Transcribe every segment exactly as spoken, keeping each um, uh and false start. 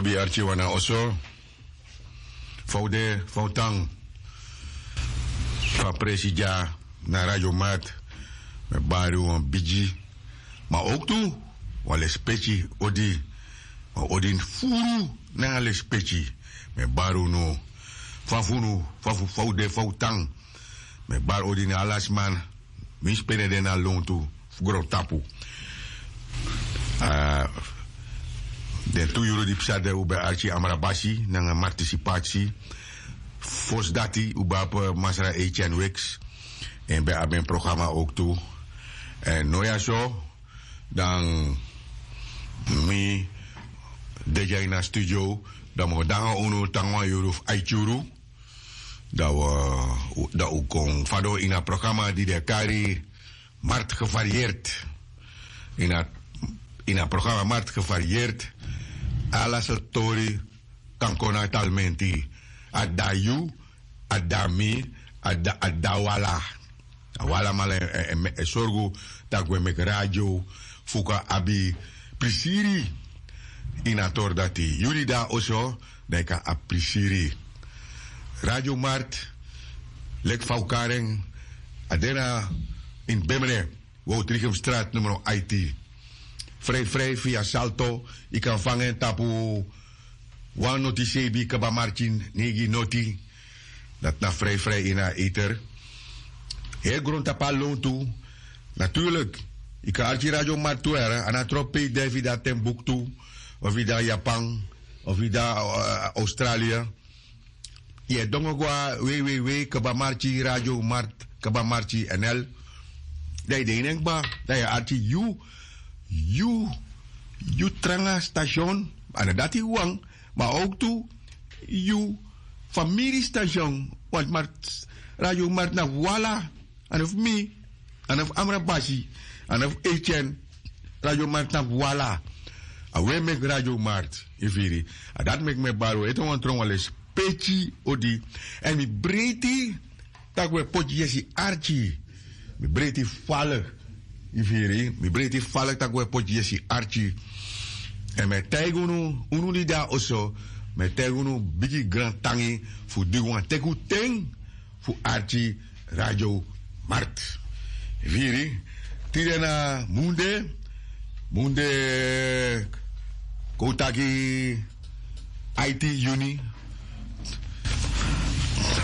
Lobi arki wan na oso. Fa un de, fa un tan? Fa presi dya na Radio Mat? Mi e bari un wan bigi, ma owktu wan lespeki odi. Ma odi furu nanga lespeki. Mi e bari unu, fa fu unu, fa fu fa un de, fa un tan? Mi e bari odi na ala sma winsi pe den de na lontu fu grontapu. Den tu yuru di psa de un ben arki Amrabasi nanga Martisipatsi. Fosi dati un ben abi Masra Etienne Wix, en ben abi en programa owktu. Èn no ya so, dan mi de dya ini a studio, dan mi o dangi unu tan wan yuru fu aiti yuru. Dan un, dan un kon fadon ini a programa di den e kari Markt Gevarieerd. Ini a, ini a programa Markt Gevarieerd, ala sortu tori kan kon na talmenti. A dati yu, a dati mi, a dati, a dati wi ala. A wi alamala e, e, e, e sorgu tak' un e meki radio fu kan abi prisiri. Ini a tori dati yu di de na oso, dan yu kan abi prisiri. Radio Markt, leki fa un kari en, a de na ini Bemre, Woutrichem Straat numero aiti. Frei frei via Salto, yu kan fanga en tapu wan noti seibin kaba marki neigi noti. Dati na frei frei ini a ether. Heri grontapu a lontu. Natuurlik, yu kan arki Radio Markt tu, a no tropi pe yu de, efu yu de na Timbuktu, of yu de na Japan, of yu de na, eh, Australië. Yu e dongo go na www kaba marki radio markt kaba marki nl. Dan yu de ini en kba, dan yu e arki yu, yu, yu tranga station, a no dati wan, ma owktu yu famiri station. Want markt, Radio Markt na fu wi ala. A no fu mi, a no fu Amrabasi, a no fu Etienne. Radio Markt na fu wi ala. A wi e meki Radio Markt, yu firi. A dati meki mi e bari un ete wan tron wan lespeki odi. Èn mi breiti tak' un e poti yesi arki. Mi breiti fala, yu firi. Mi breiti fala tak' un e poti yesi arki. Èn mi e taigi unu, unu di de na oso, mi e taigi unu bigi grantangi fu di wan teki un ten fu arki Radio Markt. Yu firi, tide na munde, munde kon un taki aiti yuni.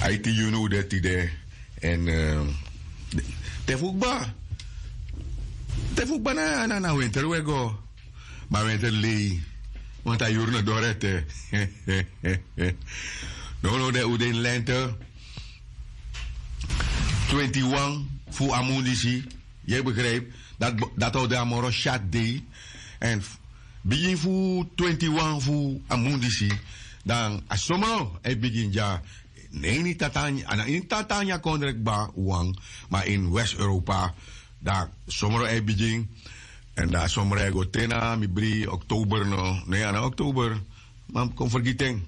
Aiti yuni un de tide. Èn, eh, te fu kba, te fu kba na, na, na winter un e go. Ma winter lei, want a yuru no doro ete. Nownow de un de ini lente. Twenti wan fu a mun disi, yu e begrijp, dati, dati o de a moro syatu dei. Èn bigin fu twenti wan fu a mun disi, dan a somro e bigin dya. Ne ini tata, a no ini tata nyan kondre kba wan, ma ini West-Europa. Dan somro e bigin. Èn dan somro e go te na mi bri oktober no. Ne, a no oktober, ma mi kon fergiti en.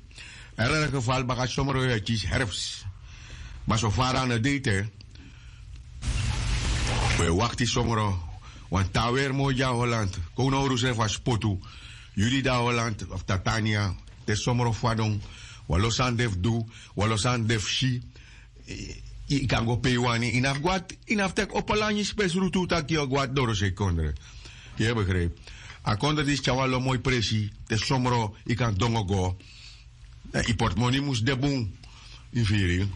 Èn dan geval baka somro e kisi herfs. Ma so fara a no de ete. Un e wakti somro. Wan taweri moro dya Holland. Kon un na un rusre fu a spotu. Yu di de na Holland of Tatania, te somro fadon, wan lo sani de fu du, wan lo sani de fu si. Yu kan go pe yu wani. Yu no abi go na, yu no abi teki opo langi spesrutu taki yu o go na dorosei kondre. Yu e begrijp. A kondre disi tyari wan lo moi presi, te somro yu kan dongo go. Yu portemoni mus de bun. Yu firi.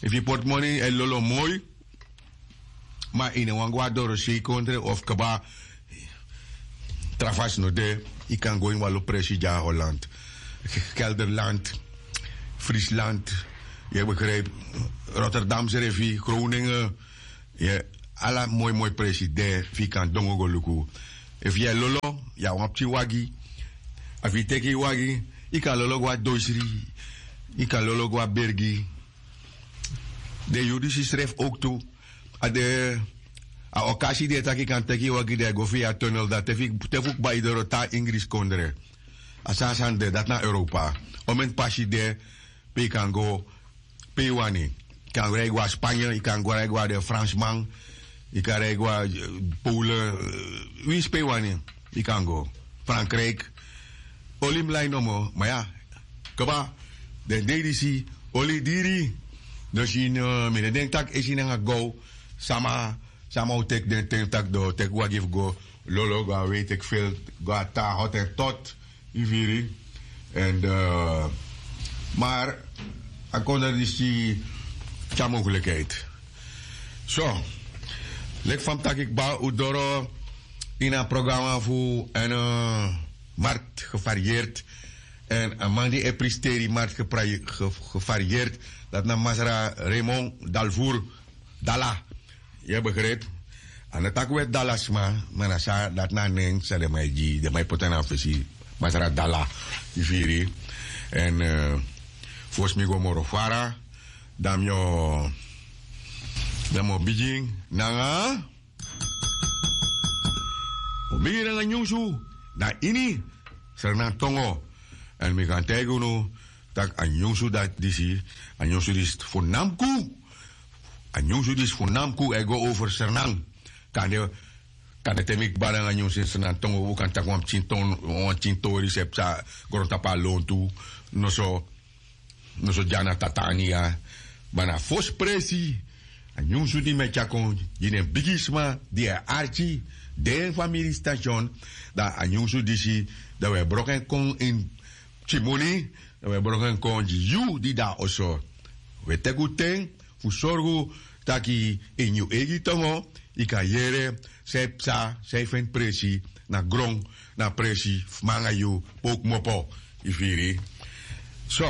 Efu yu portemoni e lolo moi, ma yu no wani go na dorosei kondre of kba, tra fasi no de. Yu kan go ini wan lo presi dya na Holland, Gelderland, Friesland, yu e begrijp, Rotterdam srefi, Groningen. Yu e, ala moi moi presi de fu yu kan dongo go luku. Efu yu e lolo, yu abi wan pikin wagi. Efu yu teki yu wagi, yu kan lolo go na Doisri, yu kan lolo go na Bergi. Den yuru disi srefi owktu, a de, a okasi de taki yu kan teki yu wagi dan yu go via tunnel, dan te fu, te fu kba yu doro te na Ingrisi kondre. A so a sani de, dati na Europa. Omeni pasi de pe yu kan go pe yu wani. Yu kan rij go na Spanje, yu kan go rij go na den Fransman, yu kan rij go na, eh, Polen, eh, winsi pe yu wani, yu kan go. Frankrijk. Oli mus lai nomo, ma ya, kba, den dei disi, oli diri. Dus yu no mi no denki tak' esi nanga gow, sama, sama o teki den ten tak' den o teki wagi fu go lolo go na wei teki fil, go na tan hot en tot. Yu firi? Èn mar a kondre disi tyari mogelikheid. So, leki fa mi taki kba un doro ini a programa fu èn mart gevarieerd. Èn a man di e pristeri mart gevarieerd, dati na masra raymond dalvour, dala. Yu e begripi? A no taki un e dala sma, ma na san dati na a nen san den man e gi den man e poti na a fesi. Masra dala. Yu firi? Èn fosi mi go moro fara, dan mi o dan mi o bigin nanga mi o bigin nanga nyunsu na ini sernan tongo. Èn mi kan taigi unu tak' a nyunsu dati disi, a nyunsu disi fu namku. A nyunsu disi fu namku e go over sernan. Kande kande te mi kba nanga nyunsu ini sernan tongo un kan taki wan pikin tori se psa grontapu na lontu. Noso noso dya na tatania. Ma na fosi presi a nyunsu di mi e tyari kon gi den bigisma di e arki den famili station. Dan a nyunsu disi dan wi e broko en kon ini pikin moni. Dan wi e broko en kon gi yu di de na oso. Wi e teki un ten fu sorgu tak' ini yu eigi tongo yu kan yere san e psa san e feni presi na gron na presi fu mi nanga yu. Pe un kmopo yu firi? So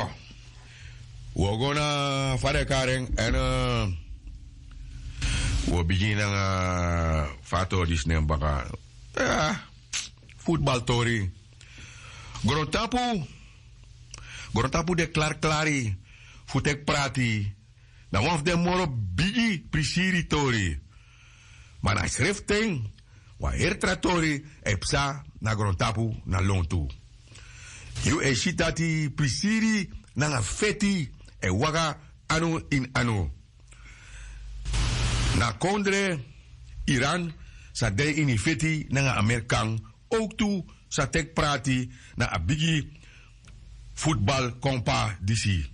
wi o go na fa den e kari en èn wi o bigin nanga fa a tori disi nen baka. Futbaltori. Grontapu grontapu de klariklari fu teki prati. Na wan fu den moro bigi prisiri tori. Ma na sreften wan heri tra tori e psa na grontapu na lontu. Yu e si dati prisiri nanga feti e waka anu ini anu. Na kondre iran sa de ini feti nanga amerikan owktu sa teki prati na a bigi futbal kompa disi.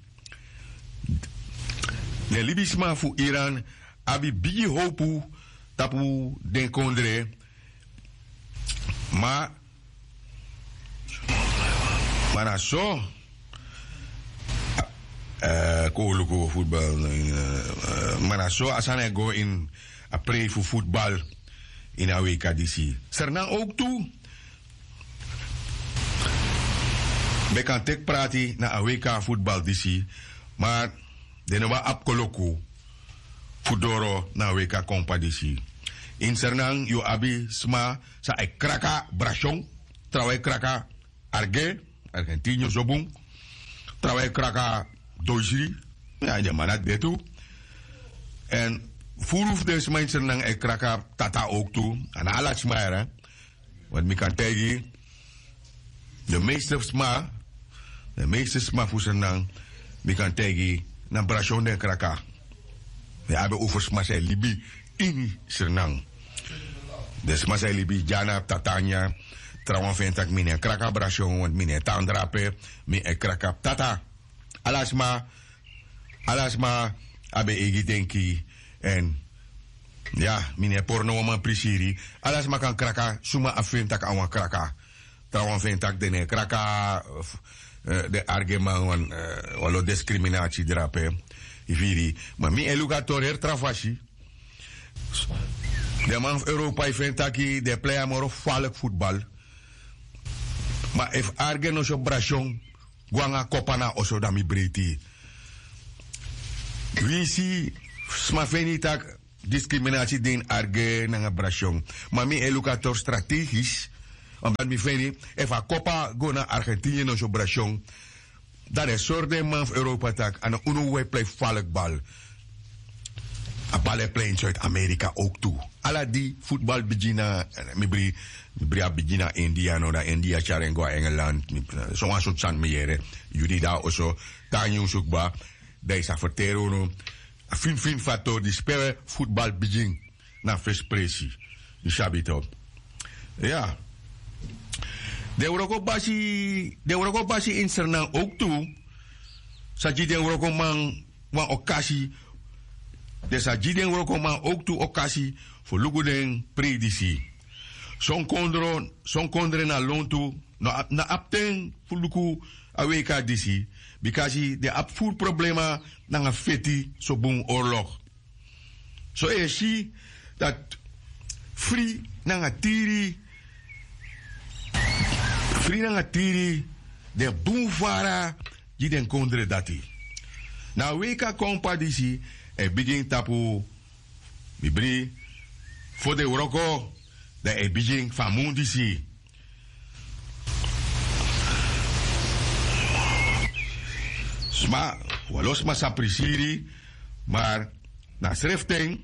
Den libisma fu iran abi bigi howpu tapu den kondre. Ma ma na so kon un luku futbal. Ma na so a sani e go ini a prei fu futbal ini a weika disi. Sernan owktu ben kan teki prati na a weika futbal disi. Ma den no ben abi koloku fu doro na a weika kompa disi. Ini sernan yu o abi sma san e kraka brasion, trawan e kraka arge, argentinio so bun, trawan e kraka doisri. Ya den man na de tu. Èn furu fu den sma ini sernan e kraka tata owktu. A na ala sma yara. Want mi kan taigi yu de meeste sma de meeste sma fu sernan mi kan taigi yu na brasion den kraka. Mi abi over sma san e libi ini sernan. Den sma san e libi dya na abi tata nyan. Trawan fu en tak' mi no e kraka brasion want mi no e tan drape. Mi e kraka abi tata. Ala sma ala sma abi en eigi denki. Èn ya mi no e pori no wan man prisiri. Ala sma kan kraka suma a feni tak' a wan kraka. Trawan fu en tak' den no e kraka den argeman wan lo diskriminasi drape. Yu firi? Ma mi e luku a tori heri tra fasi. Den man fu europa e feni taki den e plei a moro faliki futbal. Ma efu arge no si operasyon go nanga kopa na a oso dan mi breiti. Winsi sma feni tak' diskriminasi de ini arge nanga brasyon. Ma mi e luku a tori strategis. Omdati mi feni efu a kopa go na argentinië no si operasyon, dan den sori den man fu europa tak' a no unu wi e plei faliki bal. A bal e plei ini suid-amerika owk tu. Ala di futbal bigin na mi bri mi bri a bigin na india no dan india tyari en go na engeland. Sowan sortu sani mi yere. Yu di de na oso tan nyunsu kba. Dan yu sa ferteri unu a finfin fu a tori disi pe futbal bigin. Na a fesi presi. Yu sabi toki? Ya. Den wrokobasi den wrokobasi ini sernan owktu sa gi den wrokoman wan okasi den sa gi den wrokoman owktu okasi fu luku den prei disi. Son kondre na lontu no abi ten fu luku a weika disi, bikasi den abi furu problema nanga feti sobun orlok. So yu e si dati fri nanga tiri fri nanga tiri den bun fara gi den kondre dati. Na a weika kompa disi e bigin tapu bibri fo den wroko dan e bigin fu a mun disi. Sma walo sma sa prisiri. Mar na sreften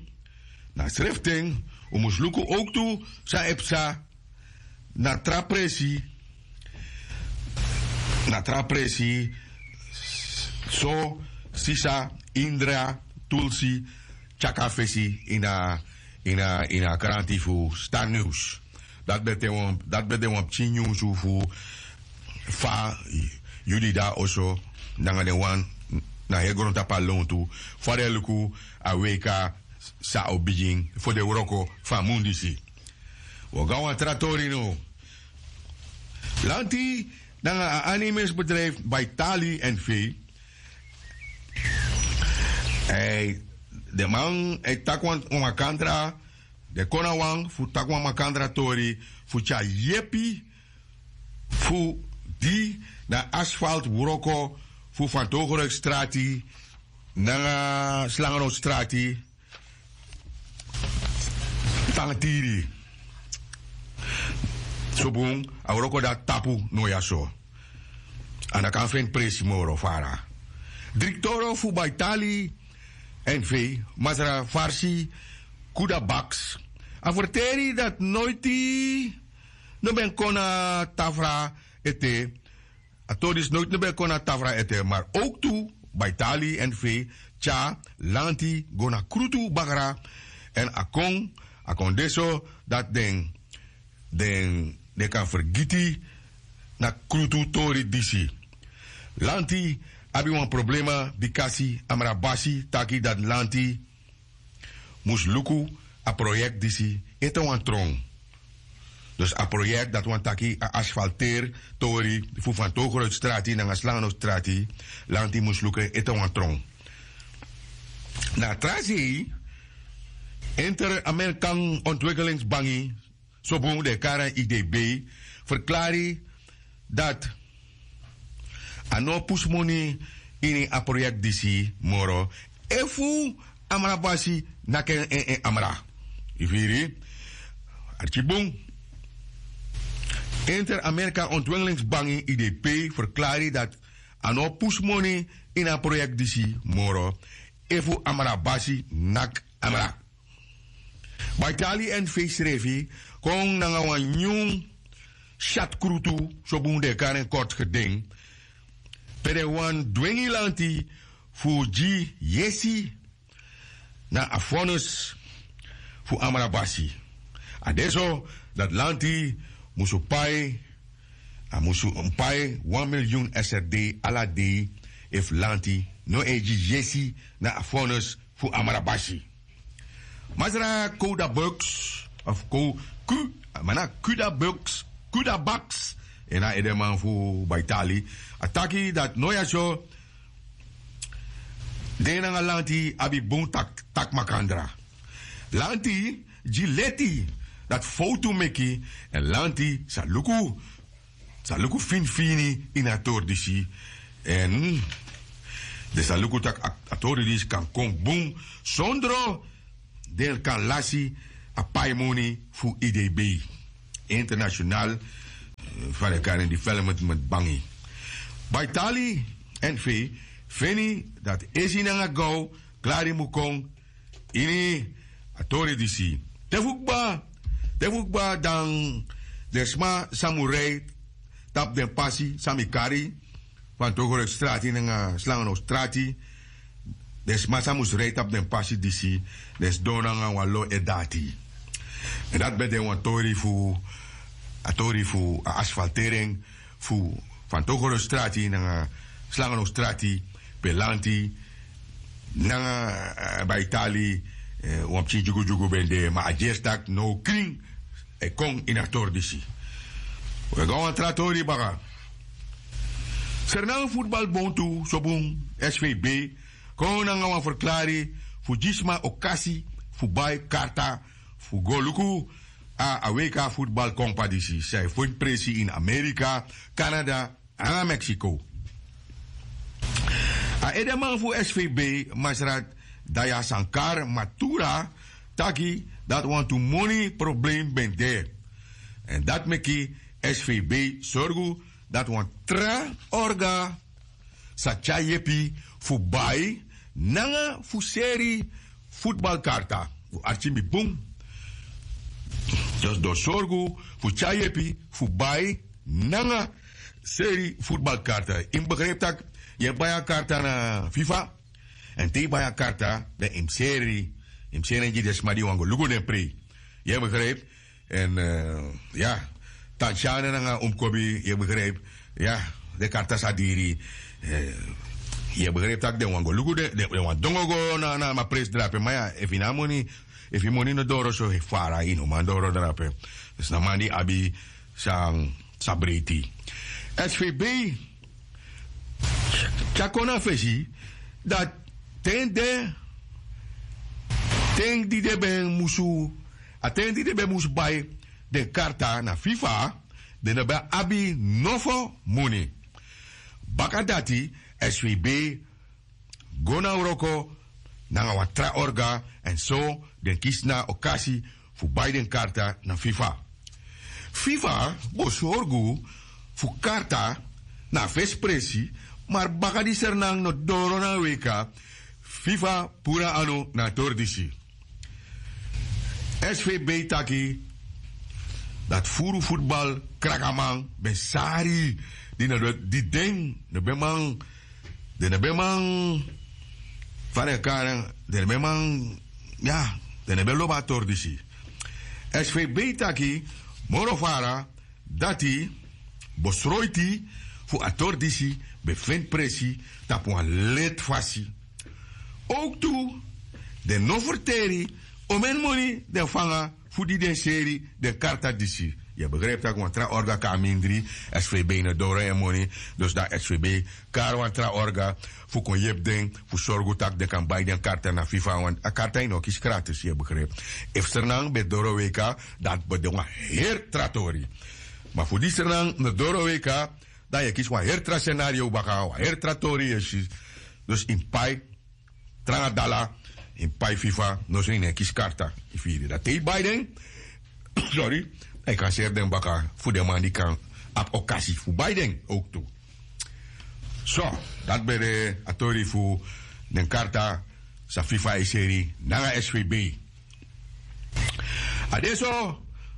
na sreften un mus luku owktu san e psa na tra presi na tra presi. So sisa indra tulsi tyaka fesi ini a ini a ini a kranti fu star news. Dati ben de wan pikin nyunsu fu fa yu di de na oso nanga den wan na heri grontapu na lontu fa den e luku a weika san o bigin fo den wroko fu a mun disi. Wi o go na wan tra tori now. Lanti nanga a animesbedrijfu baitali en fei. Den man e taki wan makandra den kon na wan fu taki wan makandra tori fu tyari yepi fu di na asfalt wroko fu fantogeruik strati nanga slangenot strati. Tan tiri sobun a wroko dati tapu no ya so. A no kan feni presi moro fara. Driktoro fu baitali en fei masra farsi kuda baks a ferteri dati noiti no ben kon na tafra ete. A tori disi noiti no ben kon na tafra ete mar owktu baitali en fei tyari lanti go na krutu bakra. Èn a kon a kon de so dati den den kan fergiti na krutu tori disi. Lanti abi wan problema bikasi amrabasi taki dati lanti mus luku a proyekti disi ete wan tron. Dus a proyekti dati wani taki a asfalteri tori fu fantogeruitstrati nanga slangenotstrati lanti mus luku en ete wan tron. Na a tra sei inter-amerikan ontwikelingsbangi sobun den e kari en idb ferklari dati a no o pusu moni ini a proyekti disi moro efu amrabasi naki en en amra. Yu firi? Arki bun. Inter-amerika ontwikelingsbangi idp ferklari dati a no o pusu moni ini a proyekti disi moro efu amrabasi naki amra. Baitali èn fei srefi kon nanga wan nyun syatskrutu sobun den e kari en kortu geden pe den wani dwengi lanti fu gi yesi na a vonnis fu amrabasi. A de so dati lanti musu pai a musu pai wan milyun srd ala dei efu lanti no e gi yesi na a vonnis fu amrabasi. Masra kouda buks of kou ku mana kuda buks kuda baks en na edeman fu baitali a taki dati no ya so den nanga lanti abi bun taki makandra. Lanti gi leti dati fowtu meki èn lanti sa luku sa luku finifini ini a tori disi èn den sa luku tak' a tori disi kan kon bun sondro den kan lasi a paimoni fu idb international fan den kari en development bangi. Baitali èn fei feni dati esi nanga gaw klari mu kon ini a tori disi. Te fu kba te fu kba dan den sma san mu rei tapu den pasi san mi kari fan togorek strati nanga slangen o strati. Den sma san mus rei tapu den pasi disi den sidon nanga wan lo e dati. Èn dati ben de wan tori fu a tori fu a asfaltering fu fantogoro strati nanga slangano strati, pe lanti nanga baitali, wan pikin dyugudyugu ben de, ma a dyesi tak' now krin e kon ini a tori disi. We go na wan tra tori baka. Sernang futbal bontu sobun, svb, kon nanga wan ferklari fu gi sma okasi fu bai karta fu go luku a wk futbal kompa disi san e feni presi ini amerika, kanada nanga meksiko. A edeman fu svb, masrat dayasankar matura, taki dati wantu moni problem ben de. Èn dati meki svb sorgu dati wan tra orga sa tyari yepi fu bai nanga fu seri futbalkarta. Fu arki mi bun. Dus den o sorgu fu tyari yepi fu bai nanga seri futbalkarta. Yu mus begripi tak' yu e bai a karta na fifa. Èn te yu bai a karta dan yu mus seri, yu mus seri en gi den sma di wani go luku den prei. Yu e begripi? Èn ya, tansyane nanga umkobi, yu e begripi? Ya, den karta sa diri. Yu e begripi tak' den wani go luku den, den wani dongo go na a presi drape. Ma ya, efu yu no abi moni, efu yu moni no doro so fara, yu no man doro drape. Dus na man di abi san sa breiti. Svb tyari kon na fesi dati ten de, ten di den ben musu a ten di den ben musu bai den karta na fifa, den no ben abi nofo moni. Baka dati svb go na wroko nanga wan tra orga, èn so den kisi na okasi fu bai den karta na fifa. Fifa bo sorgu fu karta na a fesi presi, mari baka di sernan no doro na a weka, fifa puru a anu na a tori disi. Svb taki dati furu futbal krakaman ben sari, di no di den no ben man, den no ben man, fa den kari en, den no ben man, ya, den no ben lobi a tori disi. Svb taki moro fara dati bosroiti fu a tori disi ben feni presi tapu wan leti fasi. Owktu den no ferteri omeni moni den fanga fu di den seri den karta disi. Yu e begripi tak' wan tra orga kon na mindri. Svb no doro en moni. Dus dan svb kari wan tra orga fu kon yepi den fu sorgu tak' den kan bai den karta na fifa, want a karta yu no kisi kratis, yu e begripi. Efu sernan ben doro weka, dati ben de wan heri tra tori. Ma fu di sernan no doro weka, dan yu e kisi wan heri tra senario baka, wan heri tra tori yu e si. Dus yu mus pai tranga dala, yu mus pai fifa, noso yu no e kisi karta. Yu firi? Dan te yu bai den, sorry, dan yu kan seri den baka fu den man di kan abi okasi fu bai den owktu. So dati ben de a tori fu den karta san fifa e seri nanga svb. A de so,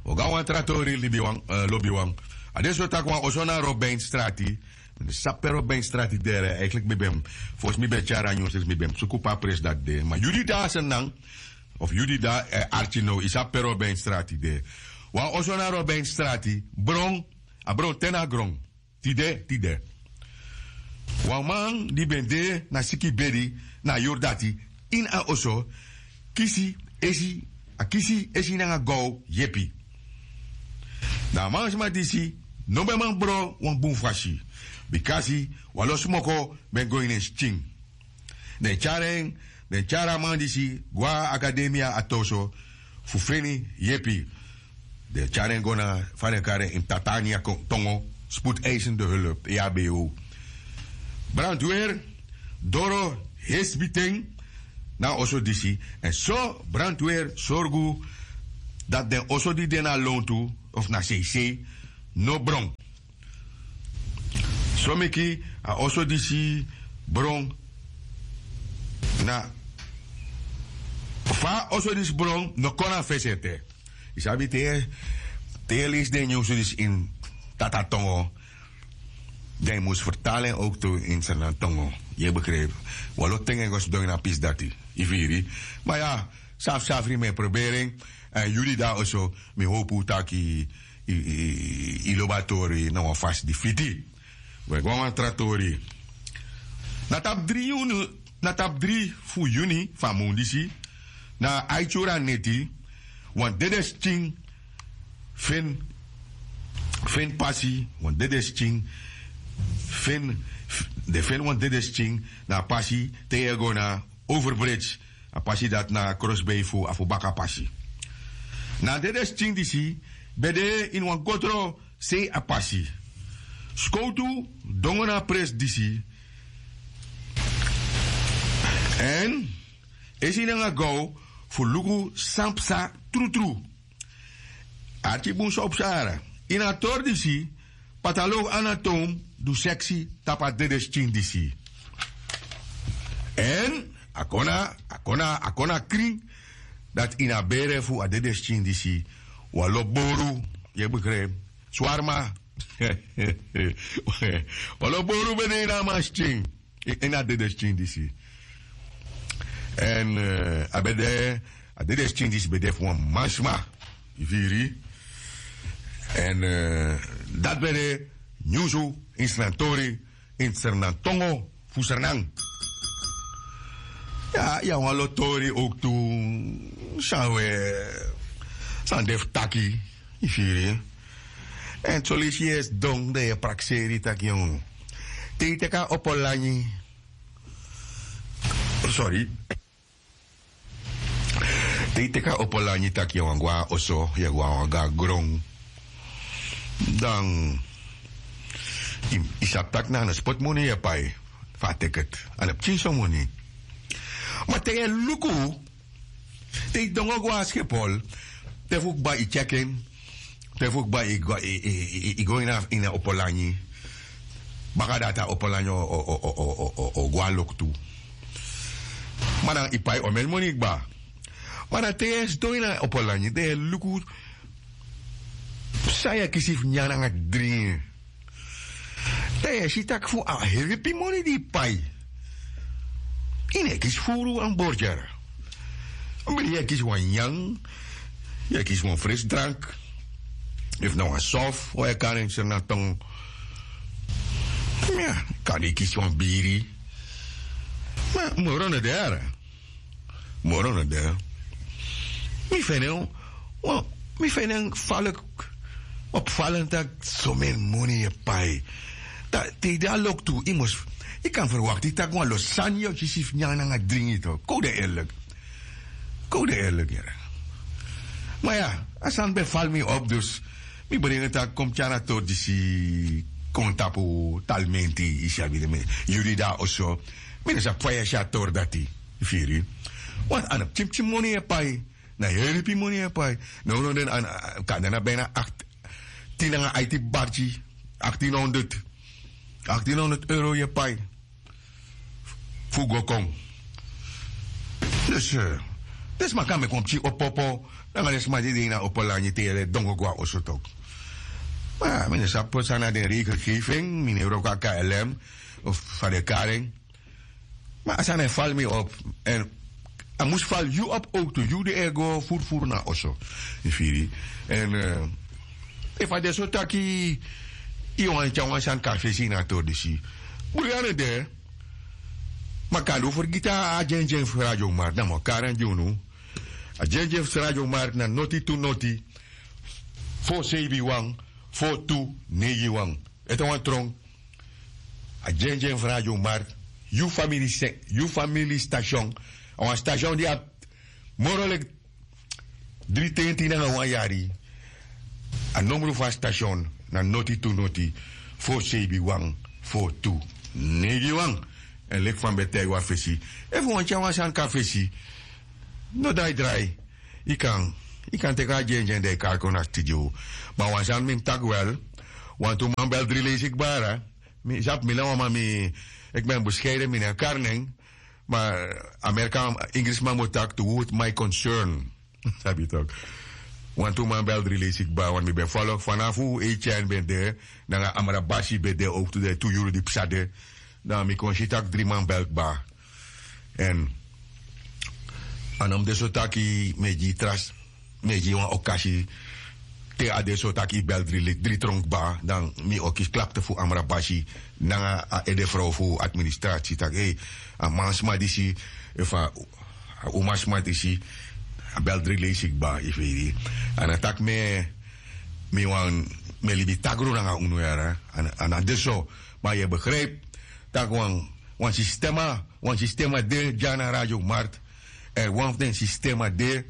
un go na wan tra tori lobiwan. A de so tak' wan oso na robin strati. Mi no sabi pe robin strati de. Eikliki mi ben, fosi mi ben tyari a nyunsu mi ben suku pe a presi dati de, ma yu di de na sernan, of yu di de na arki now, yu sabi pe robin strati de. Wan oso na robin strati, bron, a bron te na gron. Tide tide wan man di ben de na siki bedi na a yuru dati ini a oso kisi esi, a kisi esi nanga gow yepi. Dan a mansma disi no ben man bron wan bun fasi, bikasi wan lo smoko ben go ini en skin. Den tyari en, den tyari a man disi go na akademia a toso fu feni yepi. Den tyari en go na, fa den kari en ini tatania tongo, spoedeisende hulp, e a b o. Brantwer doro hesbiten na a oso disi, èn so brantwer sorgu dati den oso di de na lontu of na seisei no bron. So meki a oso disi bron na, fa a oso disi bron no kon na fesi ete. Yu sabi te yu e leisi den nyunsu disi ini tata tongo, dan yu mus fertali en owktu ini sernan tongo. Yu e begripi? Wan lo ten en go sidon ini a pisi dati. Yu firi? Ma ya, safsafri mi e proberi en. Èn yu di de na oso, mi howpu taki yu lobi a tori na wan fasi di fiti. We go na wan tra tori. Na tapu dri yuni na tapu dri fu yuni fu a mun disi, na a aiti yuru a neti, wan dede skin fen fen pasi wan dede skin fen den fen wan dede skin na a pasi te yu e go na overbridge. A pasi dati na krosbei fu a fu baka pasi. Na a dede skin disi ben de ini wan gotro sei a pasi. Skowtu dongo na a presi disi èn esi nanga gaw fu luku san psa trutru. Arki bun san o psa yara ini a tori disi. Patalow anatoom du seksi tapu a dede skin disi. Èn a kon na a kon na a kon na krin dati ini a bere fu a dede skin disi wan lo boru. Yu e begripi swarma. Wan lo boru ben de ini a man skin ini a dede skin disi. Èn a ben de a dede skin disi ben de fu wan mansma. Yu firi? Èn dati ben de nyunsu ini srantori ini sranantongo fu sranan. Ya yu abi wan lo tori owktu san we san de fu taki. Yu firi? Èn soleisi yu e sidon dan yu e prakseri yu taki yu te yu teki a opo lanyi sori. Te yu teki a opo lanyi tak' yu e wani go na oso yu e go na wan go na gron dan yu sabi tak' na a no spoti moni yu e pai fu a teket. A no pikin so moni. Ma te yu e luku te yu dongo go na skepol te fu kba yu tyeki en te fu kba yu go ini a opo lanyi. Baka dati a opo lanyi o go na loktu. Ma dan yu pai omeni moni kba. Ma dan te yu e sidon ini a opo lanyi dan yu e luku san yu e kisi fu nyan nanga dringi. Dan yu e si tak' fu a heripi moni di yu pai yu no e kisi furu wan borger. Bili yu e kisi wan nyan yu e kisi wan frisdrank efu na wan sof wan e kari en seri na tongo. Kan yu kisi wan biri. Ma moro no de yara. Moro no de. Mi feni en wan mi feni en falik. Opfalen tak' someni moni yu e pai. Te yu de na loktu yu mus yu kan ferwakti tak' wan lo sani yu o kisi fu nyan nanga dringi tok' kon un de erlik. Kon un de erlik yere. Ma ya a sani ben fali mi op dus mi bringi tak' kon mi tyari a tori disi kon tapu talmenti. Yu sabi den mi yu di de na oso. Mi no sabi fa yu e si a tori dati. Yu firi? Wan a no pikin pikin moni yu e pai. Na heri pikin moni yu e pai. Nownow den a kan de na bina akti tin nanga aiti barki. Aktin honderd aktin honderd euro yu e pai fu go kon. Dus den sma kan meki wan pikin opo opo nanga den sma di de ini a opo langi te yu e dongo go na oso toki. Ma mi no sabi pe san na den regelgeving mi no e wroko na klm of fa den e kari en. Ma a sani e fali mi op. Èn a mus fali yu op owtu yu di e go furufuru na oso. Yu firi? Èn efu a de so taki yu wani tyari wan sani kon na fesi ini a tori disi. Buri a no de. Ma kande un fergiti a dyendyen fu radio mark dan mi o kari en gi unu. A dyendyen fu radio mark na noti tu noti fo seibi wan fo tu neigi wan. Ete wan tron. A dyendyen fu radio mark yu famili station. A wan station di abi moro leki dri tenti nanga wan yari. A nomru fu a station na noti tu noti fo seibi wan fo tu neigi wan. Èn leki fa mi ben taigi wan fesi efu wan tyari wan sani kon na fesi. No dai drai. Yu kan yu kan teki a dyendyen dan yu kari kon na studio. Ma wan sani mi mus taki wel. Wantu man bel dri leisi kba. Mi sabi mi na wan man mi eki ben beskeiden mi no e kari nen. Ma amerika ingrisman mus taki tu wut my concern. Sabi yu toki. Wantu man bel dri leisi kba want mi ben folo fanafu eityani ben de nanga amra basi ben de owktu den tu yuru di psa de. Dan mi kon si tak' dri man bel kba. Èn a no mus de so taki mi e gi yu tras mi e gi yu wan okasi. Te a de so tak' yu bel dri tron kba, dan mi o kisi klapte fu amrabasi nanga a edefrow fu administrasi tak' a mansma disi, efu a umasma disi, a bel dri leisi kba yu firi. A na tak' mi e wani, mi e libi tagru nanga unu yara. A na de so. Ma yu e begripi tak' wan sistema wan sistema de dya na radio mart. Èn wan fu den sistema de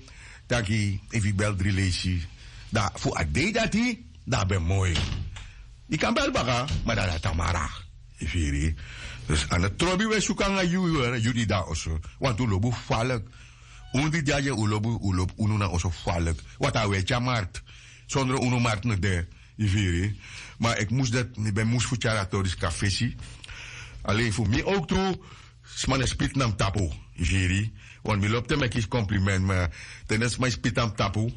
taki efu yu bel dri leisi, dan fu a dei dati dan a ben moi. Yu kan bel baka, ma dan a tamara. Yu firi? Dus a no trobi un e suku nanga yu, yu di de na oso. Wantu un lobi un falek. Unu di de na dya un lobi unu na oso falek. Wantu a un e tyari mart. Sondro unu mart no de. Yu firi? Ma eki mus dati mi ben mus fu tyari a tori sika fesi. Alen fu mi owk tru. Sma no e spiti na mi tapu. Yu firi? Want mi lobi te mi e kisi komplimenti ma te den sma e spiti na mi tapu,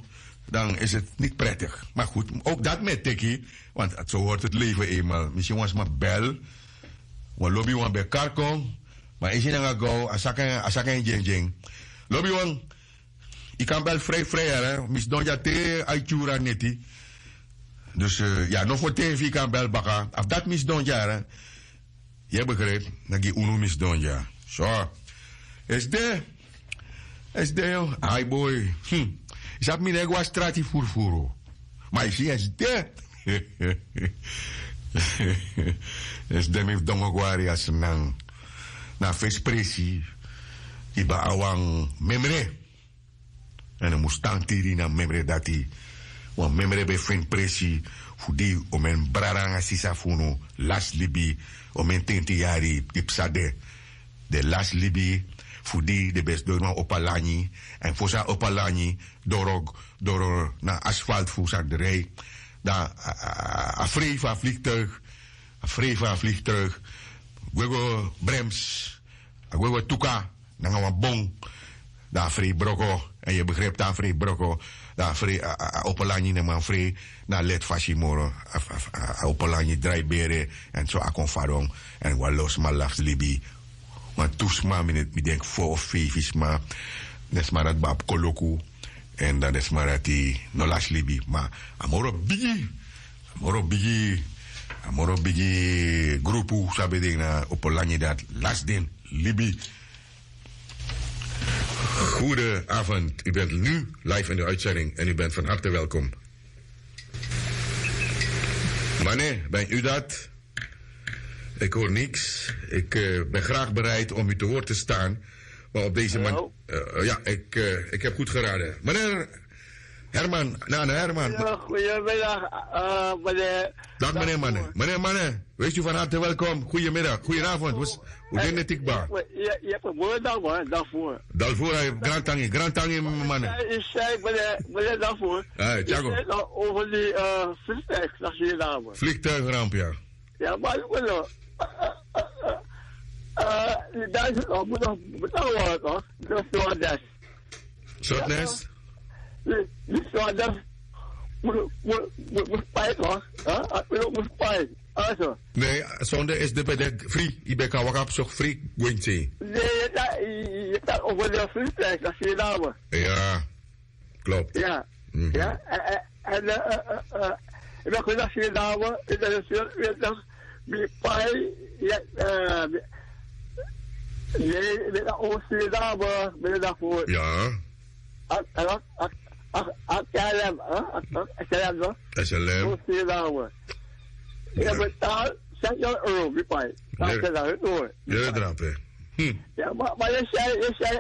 dan isi niti pretigi. Ma gudu, owk dati mi e teki. Want so hortu lefe enmal mi si wan sma bel. Wan lobi wan ben kari kon. Ma isi nanga gow a saka en dyendyen. Lobi wan. Yu kan bel frei frei yara mi sidon dya te a e tyuru a neti. Dus ya no foten fu yu kan bel baka a fu dati mi sidon dya yara. Yu e begripi? Na gi unu mi sidon dya. So. Esde. Esde. Ai boi. Yu sabi mi no e go na strati furufuru. Ma yu si esde. Esde mi fu dongo go na ri a snan. Na a fesi presi. Yu ben abi wan memre. Èn un mus tan tiri na memre dati. Wan memre ben feni presi fu di omen brada nanga sisa fu unu lasi libi. Omen tenti yari di psa de. Den lasi libi fu di den ben sidon ini wan opo lanyi. Èn fosi a opo lanyi doro doro na asfalt fu sani drai. Dan a frei fu a fliktuig. A frei fu a fliktuig. Gwe go brems. A gwe go tuka nanga wan bon. Dan a frei broko. Èn yu e begripi te a frei broko, dan a frei a opo lanyi no man frei. Na a leti fasi moro. A opo lanyi drai bere. Èn so a kon fadon. Èn wan lo sma lasi libi. Wan tu sma mi denki fo of feifi sma. Den sma dati ben abi koloku. Èn dan den sma dati no lasi libi ma a moro bigi a moro bigi a moro bigi grupu san ben de ini a opo lanyi dati lasi den libi. Goedenavond, u bent nu live in de uitzending en u bent van harte welkom. Mane, ben u dat? Ik hoor niks. Ik ben graag bereid om u te woord te staan. Maar op deze manier. Ja, ik heb goed geraden. Meneer Herman, nana Herman. Goedemiddag, meneer. Dag meneer Mane. Meneer Mane, wees u van harte welkom. Goedemiddag, goedenavond. Hoe is het, Tikba? Dalvoor, Grantangi, Grantangi, Mane. Ik zei, meneer, meneer Dalvoor. Hey, Thiago. Over die vliegtuig, dat je daar. Vliegtuigramp, ja. Ja, maar ik wil nog. Die duizend nog, moet nog betalen worden, toch? Dat is wel des. Sortnes? Die, die stewardess moet, moet, moet, moet spijt, hoor. Hè? Hij moet, moet spijt. Also. Nee, zonder is de bedek free. Je bent kan wachten op zo'n free, Gwincy. Nee, je kan, je, je kan over de vliegtuig, dat is je dame. Ja. Klopt. Ja. Ja, en, en, en, eh, eh, eh, eh, ik ben gezegd hier dame, ik ben een veertig, die pai, ja, eh, nee, ik ben een overstuur dame, ben je daarvoor. Ja. Ak, ak, ak, ak, ak, K L M, hè? Ak, ak, S L M, toch? S L M. Overstuur dame. Ja. Je betaalt zes euro, die pai. Dat is het hoor. Ja, drape. Hmm. Ya, ma, ma, yu si, yu si,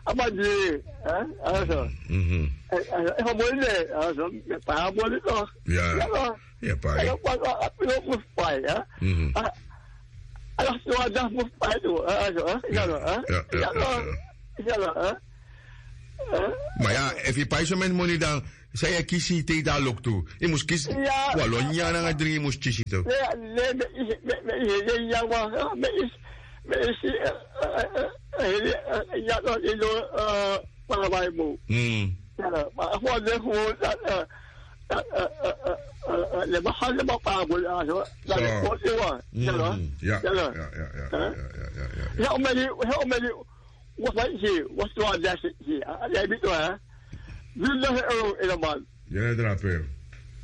a man di, eh, also. Mhm. Eh, eh, a man di, also, mi pai a man di toch. Ya. Ya, no. Ya, pai. Ya, no, pai, a, a, a, pai, ya. Mhm. A, a, so a dati mus pai tu, eh, also, eh. Ya, no, eh. Ya, ya, ya, no, ya, ya. Ya, no, eh. Eh? Ma ya, efu yu pai so meni moni dan, san yu e kisi te yu de na loktu? Yu mus kisi. Ya. Wan lo nyanyan nanga dringi yu mus kisi tu. Ne, ne, me isi, me, me isi, ya, wa, me isi, me isi, eh, eh, eh, eh, ya, no, yu no, eh, para bai mo. Hmm. Ya, no, ma, fu de fu, eh, eh, eh, le ma ha, le ma pa bo, ya, so, ya, so. Le ko, yu wa, ya, no. Hmm. Ya, ya, no. Ya, ya, ya, eh? Ya, ya, ya, ya, ya. Ya, o meni, ya, o meni, Wat wij hier, wat we daar zitten hier, hè? Jij weet wel, hè? Duizend euro in de maand. Yere drape.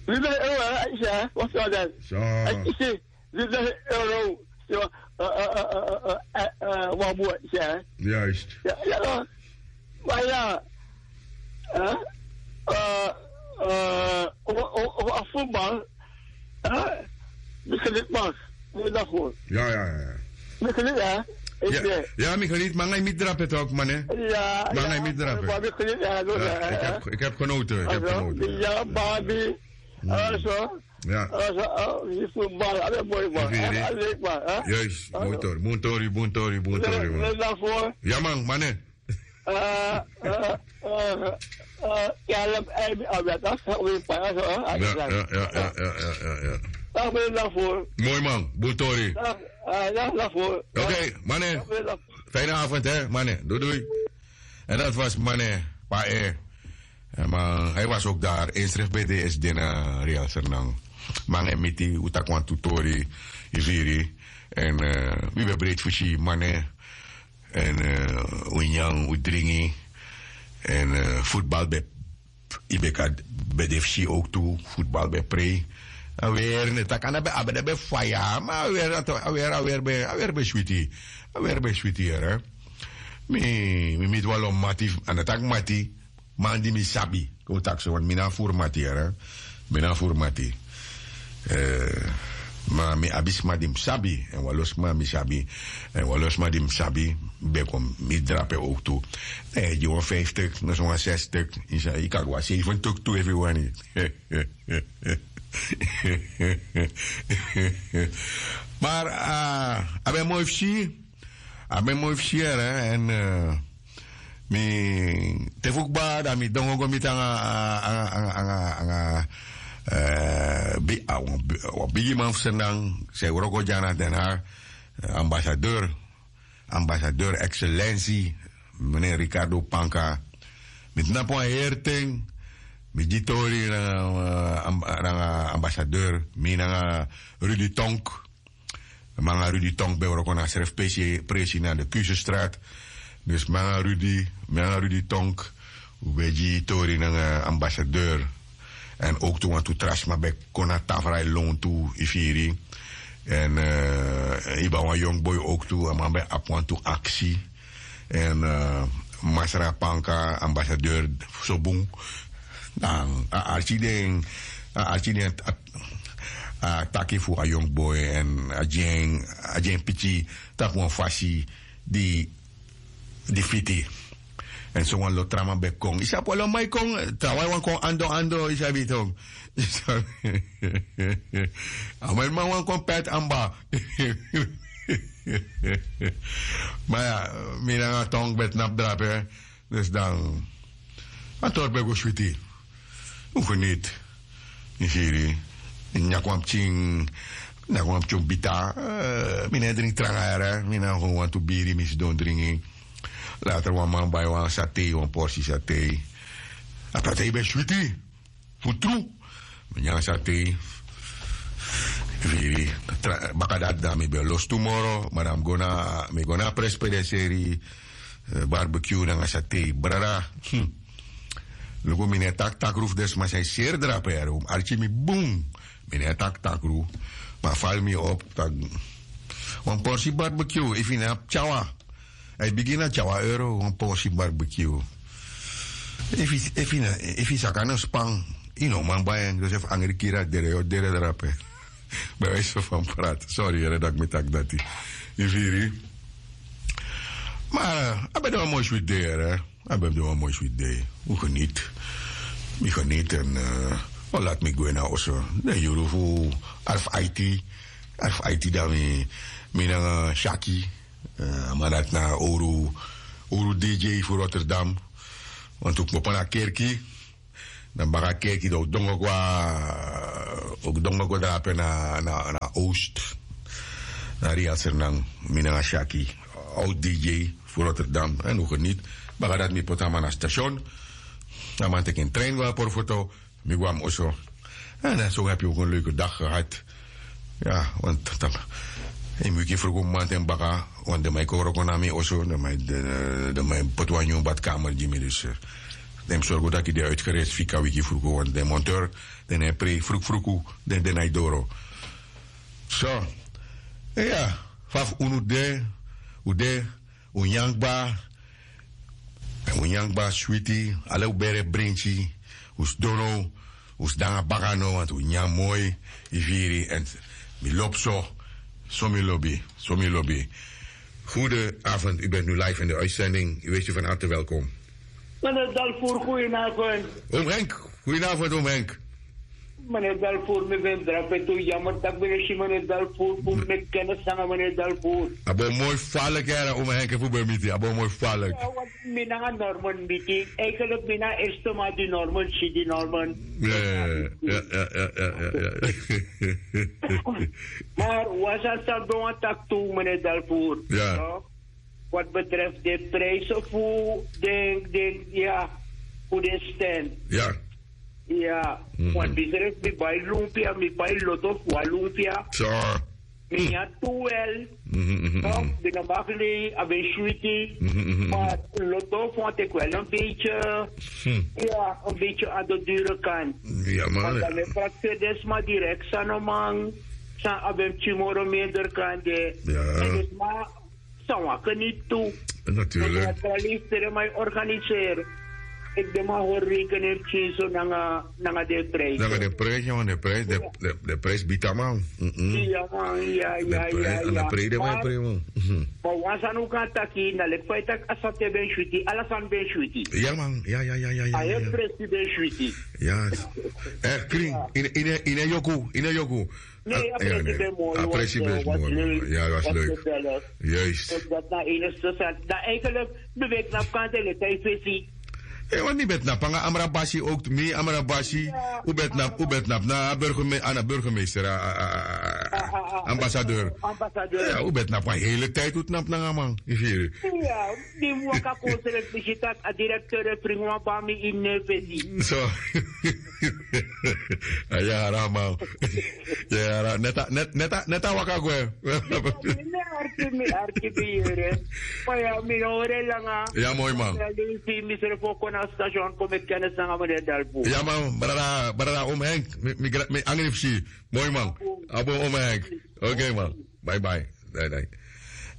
Lida euro, aisha, what's all that? So. Aisha, lida euro. So, uh, uh, uh, uh, uh, uh, uh, one more, yeah. Juist. Yeah, yeah. Maar ja, hè? Eh, eh, over, over, over voetbal, hè? Begrijp man. Moet dat goed. Ja, ja, ja. Begrijp, hè? Ik Ja, ben ja, mi geniet, maar ga je niet drapen toch, man, hè? Ja, Maar ja, ga je niet drapen. Maar ik geniet, ja, door, Ja, hè, ik hè? heb, ik heb genoten, ik heb Alo, genoten, ja. Ja, Barbie. Hmm. Alo, Ja. alo, oh, die voetbal, alo, mooi, man. Even Alo, hier. Alo, leuk, man, hè? Juist, Alo. Mooi tori, mooi tori, mooi tori, mooi tori, Alo, man. Alo, daarvoor. Ja, man, man, hè. Eh, eh, eh, eh, ja, laat me even aan dat, dat is weer pas, hè? Ja, ja, ja, ja, ja, ja, ja. Laat me daarvoor. Mooi, man, mooi tori. Ja, eh, ja, daarvoor. Ja. Oké, man, hè. Laat me daarvoor. Fijne avond, hè, man, hè. Doei, doei. En dat was man, hè, pa, hè. Eh, maar hij was ook daar, inschrift bij de S D na Real Sernang. Man, hè, miti, utakwan tutori, iviri. En, eh, we ben breed voor si, man, hè. En, eh, we nyang, we dringi. En, eh, voetbal ben, i ben kan, ben de fsi ook toe, voetbal ben prei. A weer, ne, tak' a no ben, a ben, a ben faya, ma a weer, a to-, a weer, a weer ben, a weer ben switi. A weer ben switi, hè. Mi, mi, mi dwalo mati, a no tak' mati, man di mi sabi. Kon taki so, want mi na furu mati, hè. Mi na furu mati. Eh, ma mi abi sma di mi sabi, en wan lo sma mi sabi, en wan lo sma di mi sabi, ben kon mi drape ook toe. Eh, gi wan vijftig, no so wan zestig, i sa, i kan go a zeventig toe efu i wani. Maar, ah, a ben moi fu si, a ben moi fu si, hè, en, eh, mi te fu kba, dan mi dongo go miti anga, anga, anga, anga, anga, eh, bi-, a, wan bi-, wan bigi man fu Sernang, san e wroko dya na Den Haag, eh, ambassadeur, ambassadeur, excellentie, meneer Ricardo Panka. Mi tnapu wan heri ten, mi gi tori nanga, eh, amb-, nanga ambassadeur, mi nanga Rudy Tonk. Mi nanga Rudy Tonk ben wroko na srefi presi, presi na de Kusestraat. Dus mi nanga Rudy, mi nanga Rudy Tonk, we ben gi tori nanga ambassadeur. En ook tu wantu tra sma ben kon na tafra e lontu, i firi. En, eh, i ben wan young boy ook tu, a man ben abi wantu aksi. En, eh, Masra Panka, ambassadeur, so bun. Dan, a arki den, a arki den, a, a taki fu a young boy, en a gi en, a gi en piki, tapu wan fasi, di, di fiti. En so wan lo tra man ben kon. I sabi wan lo man e kon, trawan e wani kon ando, ando, i sabi tok. I sabi. A man, man wani kon pet amba. Ma ya, mi nanga Tonk ben tnapu drape. Dus dan, a tori ben go switi. Un geniet. Mi firi. Mi nyan kon wan pikin, nyan kon wan pikin bita. Eh, mi no e dringi tranga yere. Mi nanga wantu biri, mi sidon dringi. Later wan man bai wan satei, wan porsi satei. A satei ben switi. Fu tru. Mi nyan satei. Firi. Tra-, baka dati dan mi ben lostu moro. Ma dan mi go na, mi go na presi pe den seri, eh, barbecue nanga satei. Brada. Hmm. Luku, mi no e taki takru fu den sma san e seri drape yere. Un arki mi bun. Mi no e taki takru. Ma a fali mi op. Taki wan porsi barbecue. Efu i no abi tyawa. A e bigin na tyawa euro, wan porsi barbecue. Efu i, efu i no, efu i saka no span, i no man bai en. Dus efu angri kiri a dere, yu o dere drape. Bij wijze van praten. Sorry, yere, dat mi taki dati. I firi. Maar, eh, a ben de wan moi switi dei, yere. A ben de wan moi switi dei. Un geniet. Mi geniet en, eh, un lati mi gwe na oso. Den yuru fu arf aiti. Arf aiti dan mi, mi nanga Shaki. Eh, a man dati na owru, owru D J fu Rotterdam. Wantu kmopo na kerki. Dan baka kerki dan un dongo go, un dongo go drape na, na, na Oost. Na Real Sernang, mi nanga Shaki. Oud D J fu Rotterdam. En un geniet. Baka dati mi poti a man na station. A man teki en trein go na Porfoto. Mi go na mi oso. En dan so heb je ook een leuke dag gehad. Ja, want dan, en mi wiki vroeg mamanten baka, want den man e kon wroko na mi oso, den man e, den, den man e poti wan nyun badkamer gi mi, dus, eh, Den mus sorgu taki den uitgerest fika wiki fruku, want den monteur den na e prei frukfruku, den den na e doro. So, ya, fa fu unu de, un de, un nyan kba, un nyan kba switi, ala un bere brinki, un sidon now, un sidon nanga baka now, want un nyan moi, yu firi, èn mi lobi so, so mi lobi, so mi lobi. Goedenavond, u bent nu live in de uitzending. U weet u van harte welkom. Meneer Dalvoer, goedenavond. Oom Henk, goedenavond, oom Henk. Meneer Dalvoer, mi ben drape tu, jammer tak' mi no si meneer Dalvoer, fu mi meki kennis nanga meneer Dalvoer. A bo moi falik, yara, oom Henk, fu ben miti, a bo moi falik. Ya, want mi nanga Norman miti. Eigenlijk mi na eerste man di Norman si, di Norman. Ya, ya, ya. Maar wan sani san mi ben wani taki tu, meneer Dalvoer. Ya. No? Wat betreft de prijzen fu den, den, ya, fu den stand. Ya. Ya, want mi srefi mi bai lumpia, mi bai loto fu wan lumpia. So. Mi nyan tu wel. Toch, mi no mag lei, a ben switi. Maar loto fu wan teki wel een beetje, ya, een beetje aan de dure kant. Ya, man. Want dan mi prakseri den sma direct, san no man, san a ben pikin moro minder kan de. Ya. En den sma san waka niet tu. Natuurlijk. Want naturaliseren, maar organiseren. Ik ben maar hoor rekenen pikin so nanga, nanga de prijs. Nanga de prijs, ja, de prijs, de, de, de prijs bita man. Mm-mm. Ja, man, ja, ja, ja, ja. En de prijs, de prijs, man. Mhm. Maar wan sani un kan taki, na leki fa yu taki a sani ben switi, ala sani ben switi. Ja, man, ja, ja, ja, ja, ja. A heri prijs ben switi. Ja. Eh, kring, in, in, in yoku, in yoku. Nee, a presi ben moi, a presi ben moi. Ja, was leuk. Juist. Dus dat na enigste zat. Dan eigenlijk, mi ben knapu kan tele, tai fesi. Eh, want mi ben knapu nanga Amrabasi ook, mi Amrabasi, u ben knapu, u ben knapu na burgemeester, a, a, a, a, ambassadeur. Ambassadeur. Ja, u ben knapu a hele tijd, u knapu nanga man. Ja, di mi waka kon srek, mi si taki a directeur e fringi wan bami ini en fesi. So. A yara man. Yara, neti a, neti a, neti a waka gwe. Mi arki, mi arki, mi yere. Ma ya, mi no hori langa. Ya, moi man. Ya, mi si, mi sref o kon na station, kon meki kennis nanga meneer Dalvoer. Ya man, brada, brada, oom Henk, mi, mi gra-, mi angri fu si. Moi man. A bun, oom Henk. Oké man. Bye bye. Bye bye.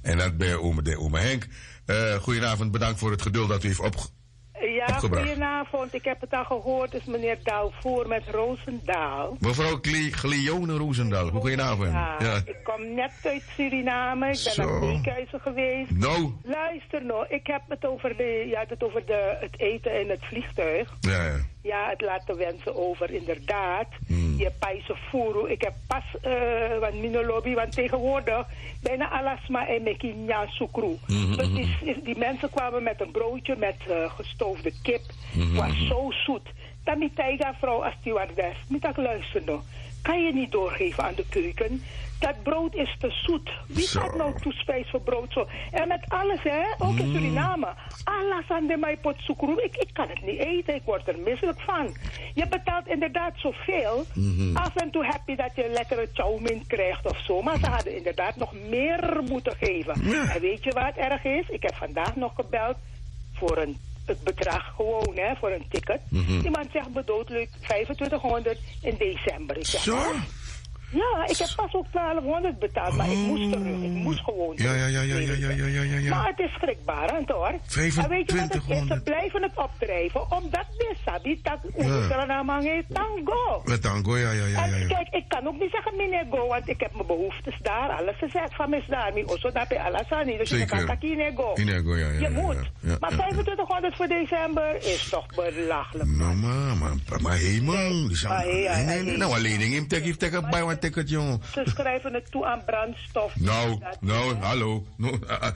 En dat ben oom, de oom Henk. Eh, goedenavond, bedankt voor het geduld dat u heeft opge-, ja, opgebracht. Goedenavond. Ik heb het al gehoord, is meneer Dalvoer met Roosendaal. Mevrouw Cle-, Cleone Roosendaal, goedenavond. Ja, ja. Ik kom net uit Suriname, ik ben naar Beekhuizen geweest. Nou. Luister nou, ik heb het over de, je had het over de, het eten in het vliegtuig. Ja, ja. Ja, het laat te wensen over, inderdaad. Hmm. Yu e pai sofuru. Ik heb pas, eh, want mi no lobi, want tegenwoordig bijna ala sma e meki nyan sukru. Mhm, dus die, mhm, die mensen kwamen met een broodje met, eh, gestoofde kip. Mhm, was zo zoet. Dan mi taigi a vrouw a stewardess, mi taki luister no. Kan je niet doorgeven aan de keuken? Dat brood is te zoet. Wie gaat nou toespijs voor brood zo? En met alles, hè? Ook in Suriname. Ala sani den man e poti sukru, ik, ik kan het niet eten, ik word er misselijk van. Je betaalt inderdaad zoveel. Mhm. Af en toe heb je dat je lekkere chow mein krijgt of zo, maar ze hadden inderdaad nog meer moeten geven. Ja. En weet je wat erg is? Ik heb vandaag nog gebeld voor een, het bedrag gewoon, hè, voor een ticket. Mhm. Die man zegt bedoeld leuk vijfentwintighonderd in december. Ik zeg, zo? Wat? Ja, ik heb pas ook twaalfhonderd betaald, maar ik moest terug. Ik moest gewoon terug. Ja, ja, ja, ja, ja, ja, ja, ja. Maar het is schrikbarend, hoor. En weet je wat het is? Ze blijven het opdrijven, omdat men sabi dat Oestranaman heeft tango. Met tango, ja, ja, ja, ja, ja. En kijk, ik kan ook niet zeggen meneer go, want ik heb mijn behoeftes daar, alles gezet van mij is daar, mijn osso daar bij alles aan. Dus je kan taki meneer go. Meneer go, ja, ja, ja, ja. Je moet. Ja, maar ja, ja. Vijfentwintighonderd voor december is toch belachelijk. No, maar, maar, maar hey, man. Nee, nee, nee, no, wan lening yu mus teki, yu teki bai wan ticket, yongu. Ze schrijven het toe aan brandstof. No, no, hallo. No, ah, ah,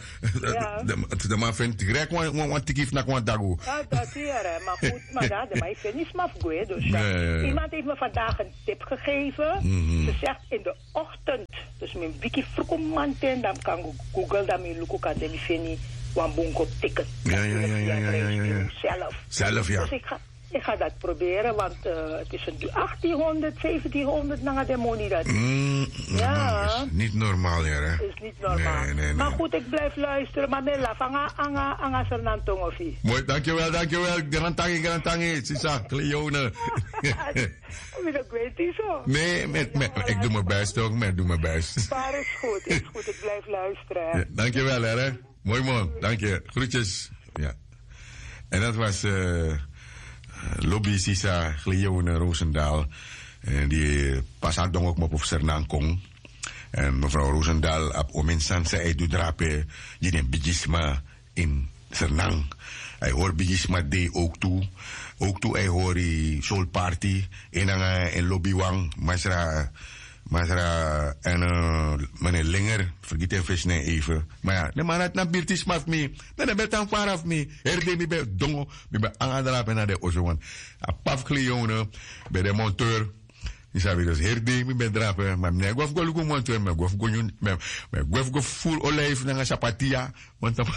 de, de man feni direct wan, wan, wan tiki fu naki wan dagu. Ja, dat hier, hè. Maar goed, maar ja, de man feni sma fu gwe, dus ja. Ja, ja, ja. Iemand heeft me vandaag een tip gegeven. Mhm. Ze zegt in de ochtend. Dus mi wiki fruku manten, dan mi kan go-, Google, dan mi luku kande mi feni wan bun kopu ticket. Ja, ja, ja, ja, ja, ja, ja. Zelf. Zelf, ja. Dus ik ga, Ik ga dat proberen, want het is een achtienhonderd, zeventienhonderd nanga de moni dat. Ja, is niet normaal, hè? Is niet normaal. Maar goed, ik blijf luisteren. Maar Mela, fanga anga anga Fernando Tongofi. Mooi, dankjewel, dankjewel. Garantangi, garantangi, sisa Cleone. Wie dat weet hij zo. Nee, ik doe mijn best ook, maar ik doe mijn best. Maar is goed, is goed. Ik blijf luisteren. Dankjewel, hè. Mooi man, dank je. Groetjes. Ja. En dat was uh, Lobby Sisa Gleone Roosendaal. En die pasa dong ook maar op Sernang Kong. En mevrouw Roosendaal op omin Sansa uit Dudrape, die den bigisma in Sernang. Hij hoort bigisma day ook toe. Ook toe hij hoort die soul party. En dan en Lobby Wang, Masra Masra en mene linger fergiti en fesi na en eife. Ma ya, den man dati na birti sma fu mi. Dan den ben tan fara fu mi. Heri dei mi ben dongo, mi ben anga drape na den oso wan. A p'pa fu Kleone ben de monteur. Yu sabi, dus heri dei mi ben drape. Ma mi no e go fu go luku monteur, mi e go fu go nyun, mi e go fu go furu olijf nanga sapatia. Wan tapu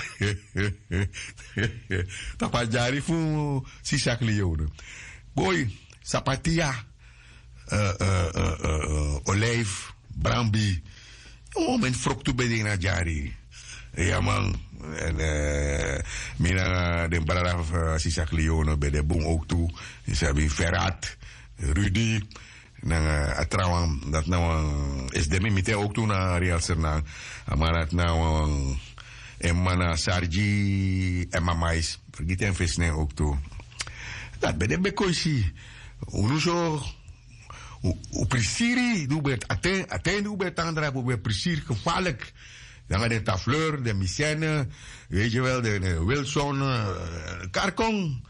tapu a dyari fu sisa Kleone. Boi, sapatia, olijf, brambi. Wan momenti froktu ben de ini a dyari. Ya man. Mi nanga den brada fu sisa Kleone ben de bun owktu. Yu sabi, Ferat, Rudy, nanga a trawan dati na wan, esi den mi miti en owktu na Real Sernang. A man dati na wan, en man na Sargi en Mamais. Fergiti en fesi nen owktu. Dati ben de bekoisi. Unu so, un prisiri di un ben, a ten di un ben tan drape un ben prisiri gefarlik. Nanga den Tafleur, den Misène, weet je wel, den Wilson, Karkong.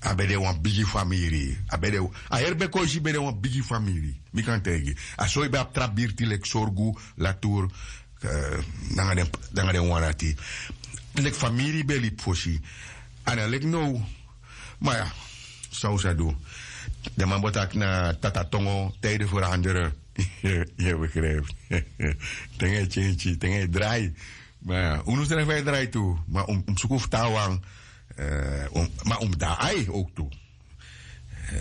A ben de wan bigi famiri. A ben de, a heri bekoisi ben de wan bigi famiri. Mi kan taigi a so yu ben abi tra birti leki Sorgu, Latour, nanga den wan dati. Leki famiri ben libi fosi. A no leki now. Ma ya, san un sa du? Den man bo taki na tata tongo, tijden veranderen. Yu e begrijpi? Ten e tyentyi, ten e drai. Ma unu srefi e drai tu. Ma un mus suku fu tan wan. Ma un mus de na ai owktu.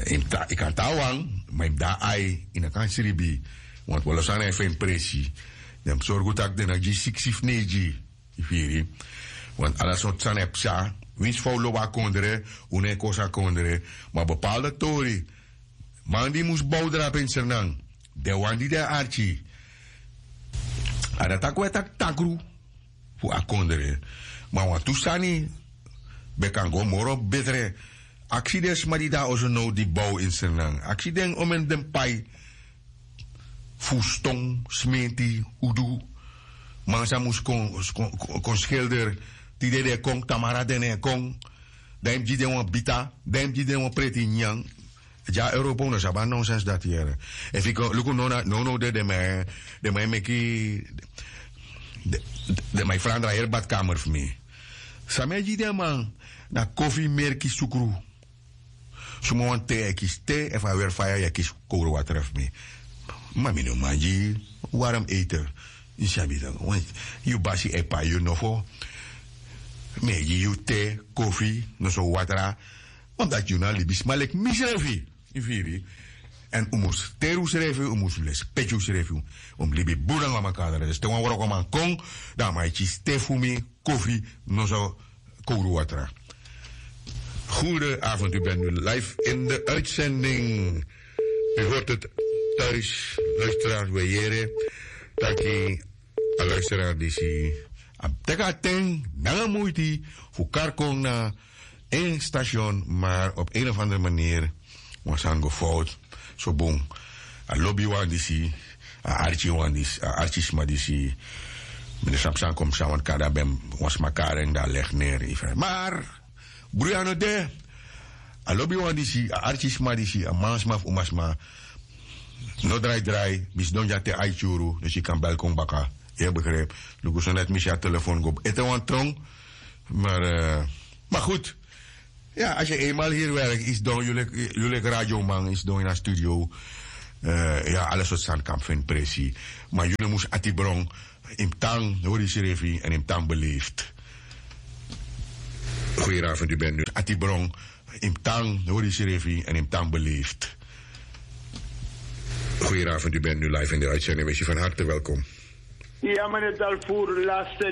Yu kan tan wan, ma yu mus de na ai, yu no kan sribi. Want wan lo sani e feni presi. Den mus sorgu tak' den no gi yu siksi fu neigi. Yu firi? Want ala sortu sani e psa. Winsi fa un lobi a kondre, un no e kosi a kondre. Ma bepaalde tori, man di mus bow drape ini Sranan, den wan di de arki, a dati a kon e taki takru fu a kondre. Ma wantu sani ben kan go moro betre. Aksi den sma di de na oso now di bow ini Sranan, aksi den omeni den pai fu ston, smenti, udu. Man san mus kon skelder, tide den e kon, tamara den no e kon. Dan yu mus gi den wan bita, dan yu mus gi den wan preti nyanyan. Dya europa un no sabi a nonsens dati yere. Efu yu kon luku nownow de den man e meki, den man e frandra heri badkamer fu mi. San mi e gi den man na kofi merki sukru. Suma wan te yu e kisi te, efu a weri faya yu e kisi kowru watra fu mi. Ma mi no man gi yu warm eten. Yu sabi dan wan, yu basi e pai yu nofo. Mi e gi yu te, kofi, noso watra. Omdati yu na libisma leki mi srefi. Yu firi? Èn un mus teri unsrefi, un mus lespeki unsrefi. Un mus libi bun nanga makandra. Dus te wan wrokoman kon, dan a man e kisi te fu mi, kofi, noso kowru watra. Goedenavond, u bent nu live in de uitzending. U hoort het thuis, luisteraars, we yere taki a luisteraar disi a teki a ten nanga muiti fu kari kon na en station, maar op een of andere manier wan sani go fout. So bun, a lobiwan disi, a arkiwan disi, a arkisma disi. Mi no sabi san kon psa, want kari a ben wan sma kari en, dan a legi neri. Maar bruya no de. A lobiwan disi, a arkisma disi, a mansma fu umasma. No drai drai, mi sidon dya te ai tyuru, dus yu kan bel kon baka. Yu e begrijpi? Luku so net mi si a telefon go ete wan tron. Maar, maar goed. Ya, als yu eenmaal hier werk, yu sidon, yu leki radioman, yu sidon ini a studio. Ya, ala sortu sani kan feni presi. Ma yu no mus ati bron. Yu mus tan hori yusrefi èn yu mus tan beleefd. Goedenavond, u bent nu Atibron. Imtang, Nori Sherifi en Imtang beleefd. Goedenavond, u bent nu live in de uitzending. Wees u van harte welkom. Ja, meneer Dalvoer, laatste